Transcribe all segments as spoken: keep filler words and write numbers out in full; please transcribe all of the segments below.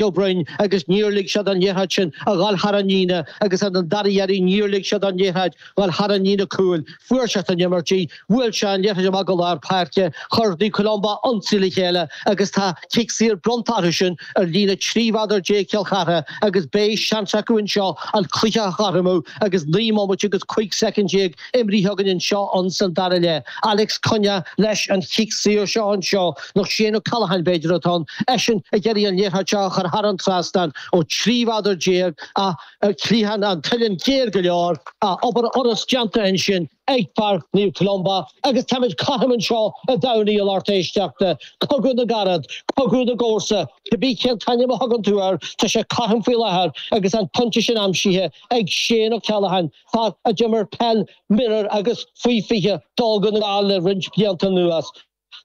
Ó Broin agus níor lig siad an liathróid sin a dhul thar an líne agus an dara iarraidh níor lig siad an liathróid dhul thar an líne cúil. Fuair sé an imirt í, bhuail sé an liathróid amach go lár páirce, chuir Naomh Columba ionsaí le chéile agus tá cic saor bronnta orthu sin ar líne trí mhéadar déag Chill Chartha agus beidh seans acu anseo an cluiche a chothromú agus naoi mbomaite agus cúig soicind déag imrithe againn anseo ansan dara leath. Alex Conya leis an chic saor seo anseo nó Shane O'Callaghan b'fhéidir atá ann eisean ag iarraidh an liathróid seo a chur thar an trasnán ó trí mhéadar déag a cliathán an tsuilinn géar go leor a obair fhurast déanta ansin ag fear Naomh Columba agus táimid cothrom anseo a Domhnaigh a lucht éisteachta, cogadh na gcarad, cogadh na gcomharsa, cibé cén t-ainm a thugann tú air, tá sé cothrom faoi láthair agus an pointe sin aimsithe ag Shane O'Callaghan, fear a d'imir peil mionúr agus faoi fiche do Dhún na nGall le roinnt blianta anuas.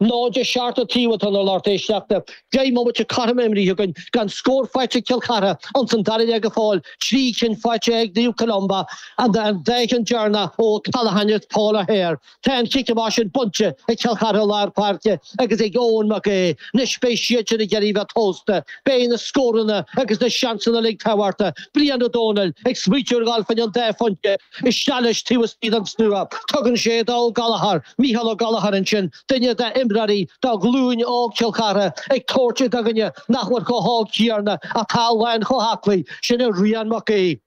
náid a seacht an taobh atá ann a lucht éisteachta. Deich mbomaite cothrom imrithe againn gan scór faighte ag Cill Chartha ins an dara leath go fóill, trí cinn faighte ag Naomh Columba, an dá cheann deireanach ó O'Callaghan is Paul O'Hare. Tá an cic amach sin bainte ag Cill Chartha i lár páirce agus ag Eoin Mac Aodha. Anois beidh siadsan ag iarraidh bheith tomhaiste. Beidh na scóranna agus na seansanna uilig tábhachtach. Brian Ó Dónaill ag smaoitiú ar dhul fá choinne an dá phointe isteach leis taobh istigh den slua. Tugann sé do Ó Gallchóir, Mícheál Ó Gallchóir ansin, duine de imreoirí de ghlúin óg Chill Chartha ag tabhairt do dhuine nach bhfuil chomh hóg céanna atá lán chomh haclaí sin é Rian Mac Aoidh.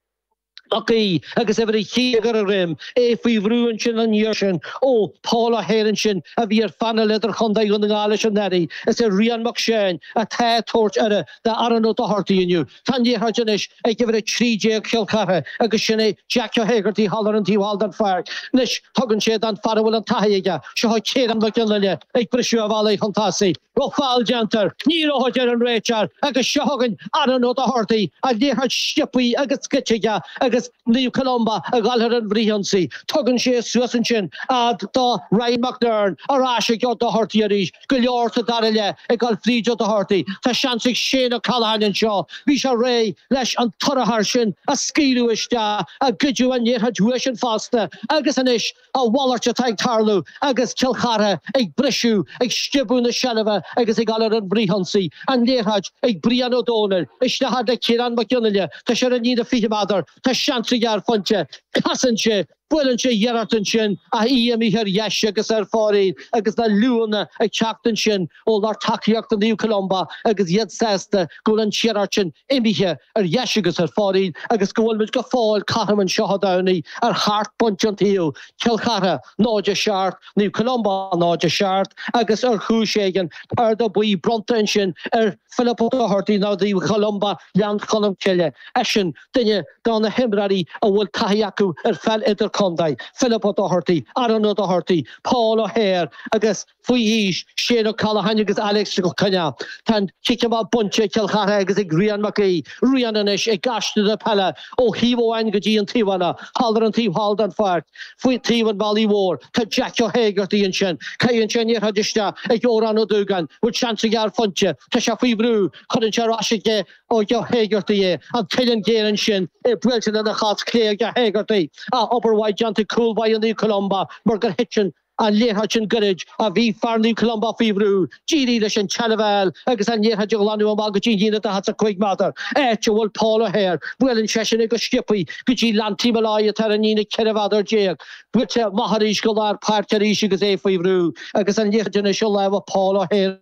Mac Aoidh agus uimhir a trí ar a dhroim, é faoi bhrú ansin an iarraidh sin ó Paul O'Hare ansin a bhí ar phainéal idirchontae Dhún na nGall leis anuraidh. Is é Rian Mac Seáin atá ag tabhairt aire d'Aaron Ó Dochartaigh inniu. Tá an liathróid anois ag uimhir a trí déag Chill Chartha agus sin é Jack Ó hÉigeartaigh thall ar an taobh thall den pháirc. Anois tugann sé don fear a bhfuil an taithí aige, seo Ciarán Mac Fhionnghaile ag briseadh a bhealaigh chun tosaigh. Raibh feall déanta air, ní raibh a deir an réiteoir agus seo chugainn Aaron Ó Dochartaigh, an liathróid sciobtha agus scoite aige agus Naomh Columba ag dul ar an bhfrithionsaí. Tugann sé suas ansin fhad do Ryan McNern ar ais ag Ó Dochartaigh arís. Go leor sa dara leath ag dul fríd Ó Dochartaigh. Tá seans ag Shane O'Callaghan anseo. Bhí sé réidh leis an torathar sin a scaoileadh isteach, a goideadh an liathróid uaidhsean fosta agus anois a mhalairt atá ag tarlú agus Cill Chartha ag briseadh, ag sciobadh na seilbhe agus ag dul ar an bhfrithionsaí. An liathróid ag Brian Ó Dónaill, isteach fhad le Ciarán Mac Fhionnghaile, tá sé ar an líne fiche méadar, tá seans aige ar phointe, casann sé, buaileann sé iarracht ansin ach í imithe ar dheis agus ar fóraoil agus na liúnna ag teacht ansin ó lucht tacaíochta Naomh Columba agus iad sásta go bhfuil an iarracht sin imithe ar dheis agus ar fóraoil agus go bhfuil muid go fóill cothrom anseo a Domhnaigh ar sheacht bpointe an taobh, Cill Chartha náid a seacht, Naomh Columba náid a seacht agus ar chúis éigin cárta buí bronnta ansin ar Philip Ó Dochartaigh nó Naomh Columba Ghleann Cholm Cille. Eisean duine de na himreoirí a bhfuil taithí acu ar pheil idirchontae, Philip Ó Dochartaigh, Aaron Ó Dochartaigh, Paul O'Hare agus faoi aois, Shane O'Callaghan agus Alex Ó Coineá. Tá an cic amach bainte ag Cill Chartha agus ag Rian Mac Aoidh. Rian anois ag aistriú na peile ó thaobh amháin go dtí an taobh eile, thall ar an taobh thall den pháirc, faoi taobh an bhealaigh mhóir. Tá Jack Ó hÉigeartaigh ansin. Caitheann sé an liathróid isteach ag Odhrán Ó Dúgáin. Bhfuil seans aige ar phointe? Tá sé faoi bhrú. Cuireann sé ar ais ag Ó hÉigeartaigh é. An t-uillinn géar ansin, é buailte lena chos chlé ag Ó hÉigeartaigh. Obair mhaith déanta ag cúl báire Naomh Columba mar gur thit an liathróid sin gairid ach bhí fear Naomh Columba faoi bhrú. D'éirigh leis an tseilbh a fháil agus an liathróid a ghlanadh amach go dtí an líne daichead is a cúig méadar, áit a bhfuil Paul O'Hare. Buaileann seisean é go sciobtha go dtí Lanty Molloy atá ar an líne ceithre mhéadar déag. Buailte amach arís go lár páirce arís agus é faoi bhrú agus an liathróid anois i lámha Paul O'Hare.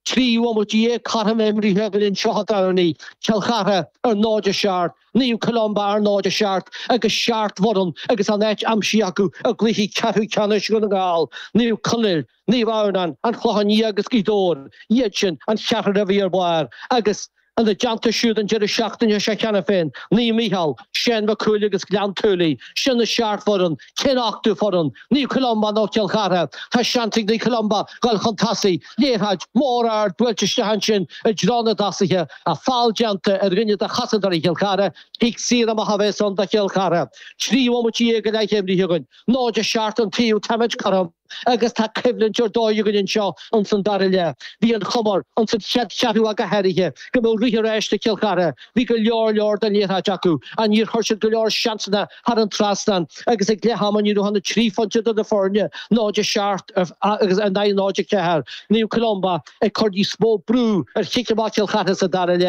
Trí bhomaite déag cothrom imrithe againn anseo a Domhnaigh, Cill Chartha ar náid a seacht, Naomh Columba ar náid a seacht agus seacht bhfoireann agus a n-áit aimsithe acu i gcluichí ceathrú ceannais Dhún na nGall, Naomh Conaill, Naomh Adhamhnáin, An Clochán Liath agus Gaoth Dobhair, iad sin an cheathrar a bhí ar barr agus Ina dteannta siúd an deireadh seachtaine seo cheana féin, Naomh Mícheál, Séan Mac Cumhaill agus Gleann tSúilí, sin na seacht bhfoireann, cén ochtú foireann? Naomh Columba nó Cill Chartha? Tá seans ag Naomh Columba dhul chun tosaigh. Liathróid mhór ard buailte isteach ansin i dtreo na dtosaithe, ach feall déanta ar dhuine de chosantóirí Chill Chartha, cic saor amach a bheas ann do Chill Chartha. Trí bhomaite déag go leith imrithe againn. náid a seacht an taobh, táimid cothrom. Agus tá coimhlint ar dóigh againn anseo ins an dara leath. Bhí an chuma ins an chéad cheathrú go háirithe go mbeadh rith ar ais ag Cill Chartha, bhí go leor leor den liathróid acu ach níor chuir siad go leor seansanna thar an trasnán agus ag leath ama ní raibh ach trí phointe idir na foirne náid a seacht agus a naoi náid a ceathair. Naomh Columba ag cur níos mó brú ar chic amach Chill Chartha sa dara leath.